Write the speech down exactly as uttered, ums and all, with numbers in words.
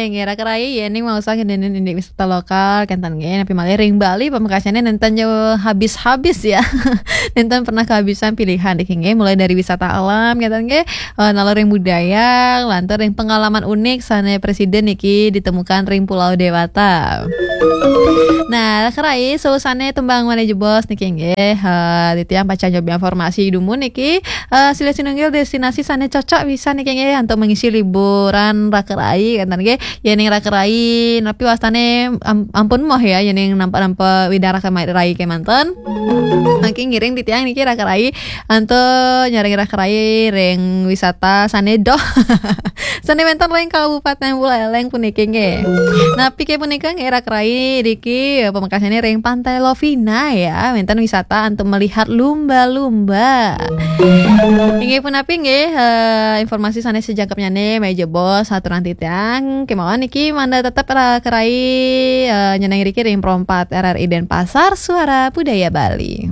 Nggih, raka rai, yéning maosang ngeninin indik wisata lokal, kénten nggih, napi malih ring Bali, pamekasnyané nénten jauh habis-habis ya. Nénten pernah kehabisan pilihan niki nggih, mulai dari wisata alam, kénten nggih, eh, nalor ring budaya, lantur ring pengalaman unik sané presiden niki ditemukan ring Pulau Dewata. Nah, raka rai, sané tembang malih jebos niki nggih, eh, titiang pacang nyobi informasi dumun niki, eh, silih sinunggil destinasi sané cocok pisan niki nggih, untuk mengisi liburan raka rai, kénten nggih. Yéning raka rai, napi wastané am-, ampun moh ya, yéning nampa-nampa widang raka ma-, rai kémanten. Mangkin ngiring titiang niki raka rai, antuk nyarengin raka rai ring wisata sané doh. Sané wénten ring Kabupaten Buleleng puniki nggih. Napi ké punika nggih raka rai niki, eh, pamekasnyané ring Pantai Lovina ya, wénten wisata antuk melihat lumba-lumba. Inggih punapi nggih, eh, informasi sané sajangkepnyané malih jebos aturang titiang. Kémaon niki mangda tetep raka rai, eh, nyeneng riki ring Pro empat R R I Denpasar, Suara Budaya Bali.